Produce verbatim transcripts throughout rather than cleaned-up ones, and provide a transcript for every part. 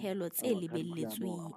dipehelo tse lebelletsweng.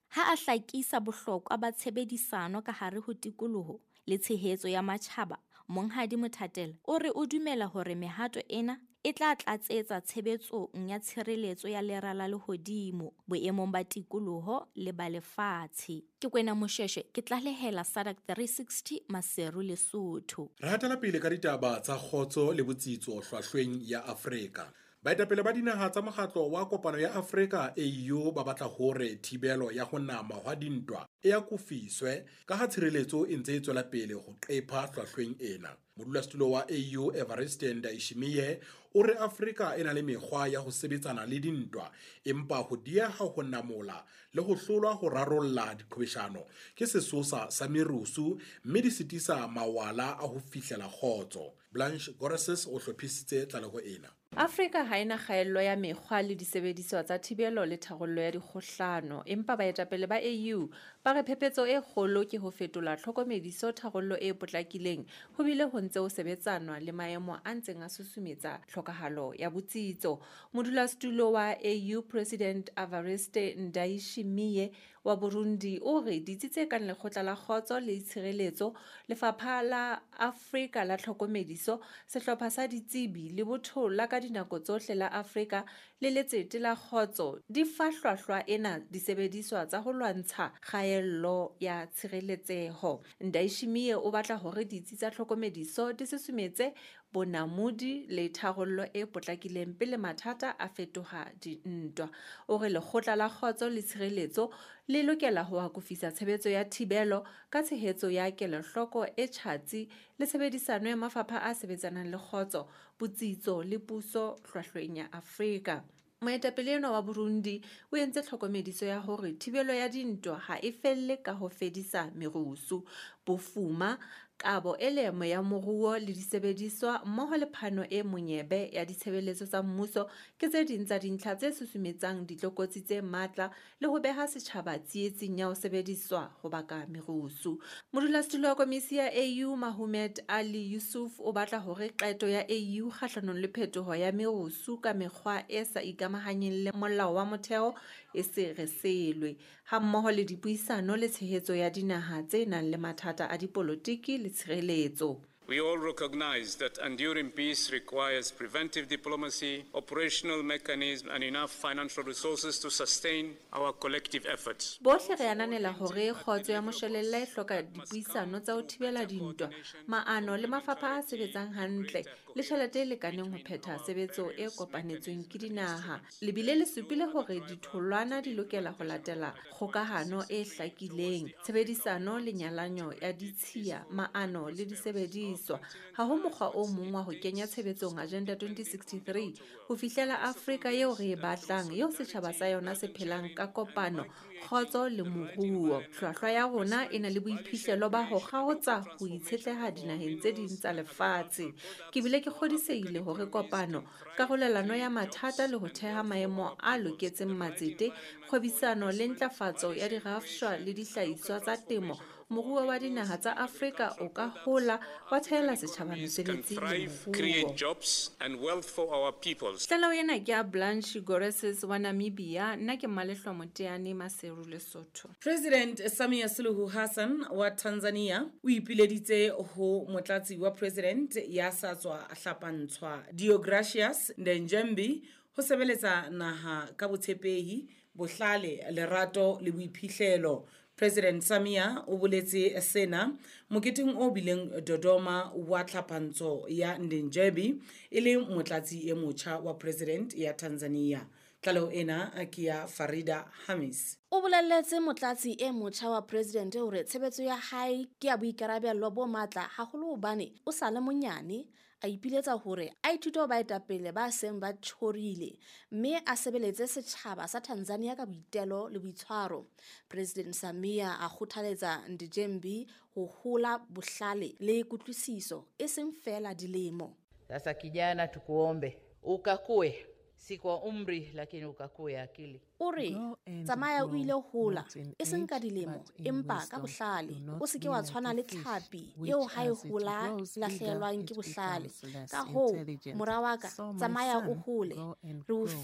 Ha a hlakisa bohlokwa ba tshebedisano ka hare ho tikoloho le tshehetso ya matjhaba, Monghadi Mothatela o re o dumela hore mehato ena e tla tlatsetsa tshebetsong ya tshireletso ya lera la lehodimo boemong ba tikoloho le ba lefatshe. Ke Kwena Moshweshwe, ke tlalehela S A D C three sixty Maseru, Lesotho. Re hatela pele ka ditaba tsa kgotso le botsitso hlwahlweng ya Afrika. Baetapele ba dinaha tsa mokgatlo wa kopano ya Afrika A U ba batla hore thibelo ya ho nama hwa dintwa e akofiswe ka ha tshireletso e ntse e tswela pele ho qepha hlwahlweng ena. Modulasetulo wa A U Evariste Ndayishimiye o re Afrika e na le mekgwa ya ho sebetsana le dintwa, empa ho dieha ho namola le ho hlolwa ho rarolla diqhwebeshano ke sesosa sa merusu mme di sitisa mawala a ho fihlela kgotso. Blanche Goreses o hlophisitse tlaleho ena. Afrika ha ena kgaello ya mekgwa le disebediswa tsa thibelo le tharollo ya dikgohlano, empa baetapele ba A U ba re phephetso e kgolo ke ho fetola tlhokomediso tharollo e potlakileng ho bile ho ntse ho sebetsanwa le maemo a ntseng a susumetsa tlhokahalo ya botsitso. Modulasetulo wa A U President Evariste Ndayishimiye wa Burundi o re ditsi tse kang Lekgotla la Kgotso le Tshireletso, Lefapha la Afrika la Tlhokomediso, Sehlopha sa Ditsebi le Botho la ka dinako tsohle la Afrika le Letsete la Kgotso di fa hlwahlwa ena disebediswa tsa ho lwantsha kgaello ya tshireletseho. Ndayishimiye o batla hore ditsi tsa tlhokomediso di susumetse bonamodi le tharollo e potlakileng pele mathata a fetoha dintwa. O re Lekgotla la Kgotso le Tshireletso le lokela ho akofisa tshebetso ya thibelo ka tshehetso ya kelohloko e tjhatsi le tshebedisano ya mafapha a sebetsanang le kgotso, botsitso le puso hlwahlweng ya Afrika. Moetapele enwa wa Burundi o entse tlhokomediso ya hore thibelo ya dintwa ha e felle ka ho fedisa merusu, bofuma, kabo e leemo ya moruo le disebediswa mmoho le phano e monyebe ya ditshebeletso tsa mmuso ke tse ding tsa dintlha tse susumetsang ditlokotsi tse matla le ho beha setjhaba tsietsing ya ho sebediswa ho baka merusu. Modulasetulo wa komisi ya A U Mahomet Ali Yusuf o batla hore qeto ya A U kgahlanong le phetoho ya merusu ka mekgwa e sa ikamahanyeng le molao wa motheo e se reselwe, hammoho le dipuisano le tshehetso ya dinaha tse nang le mathata a dipolotiki le tshireletso. We all recognize that enduring peace requires preventive diplomacy, operational mechanisms, and enough financial resources to sustain our collective efforts. Bohle re ananela hore kgotso ya moshwelella e hloka dipuisano tsa ho thibela dintwa, maano le mafapha a sebetsang hantle le tjhelete e lekaneng ho phetha tshebetso e kopanetsweng ke dinaha. Le bile le supile hore ditholwana di lokela ho latela kgokahano e hlakileng, tshebedisano le nyalanyo ya ditshiya, maano le disebediswa. Ha ho mokgwa o mong wa ho kenya tshebetsong Agenda twenty sixty-three ho fihlela Afrika eo re e batlang, eo setjhaba sa yona se phelang ka kopano, kgotso le moruo. Hlwahlwa ya rona e na le boiphihlelo ba ho kgaotsa ho itshetleha dinaheng tse ding tsa lefatshe. Ke bile ke kgodisehile hore kopano, karolelano ya mathata le ho theha maemo a loketseng matsete, kgwebisano le ntlafatso ya dirafshwa le dihlahiswa tsa temo, moruo wa dinaha tsa Afrika o ka hola wa thehela setjhaba mesebetsi le moruo. Tlaleho ena ke ya Blanche Goreses wa Namibia, nna ke Malehlo Moteane, Maseru, Lesotho. President Samia Suluhu Hassan wa Tanzania o ipileditse ho motlatsi wa president ya sa tswa hlapantshwa Deogratias Ndejembi ho sebeletsa naha ka botshepehi, bohlale, lerato le boiphihlelo. President Samia o boletse sena moketeng o bileng Dodoma wa tlhapantso ya Ndejembi e le motlatsi e motjha wa president ya Tanzania. Tlaleho ena ke ya Farida Hamis. O bolelletse motlatsi e motjha wa president hore tshebetso ya hae ke ya boikarabelo bo matla haholo hobane o sa le monyane, a ipiletsa hore a ithute ho baetapele ba seng ba tjhorile mme a sebeletse setjhaba sa Tanzania ka boitelo le boitshwaro. President Samia a kgothaletsa Ndejembi ho hola bohlale le kutlwisiso e seng feela dilemo. Sasa kijana, tukuombe ukakue, si kwa umri lakini ukakue akili. O re tsamaya o ile hola e seng ka dilemo empa ka bohlale, o se ke wa tshwana le tlhapi eo ha e hola lahlehelwang ke bohlale. Ka hoo mora wa ka, tsamaya o hole, re o file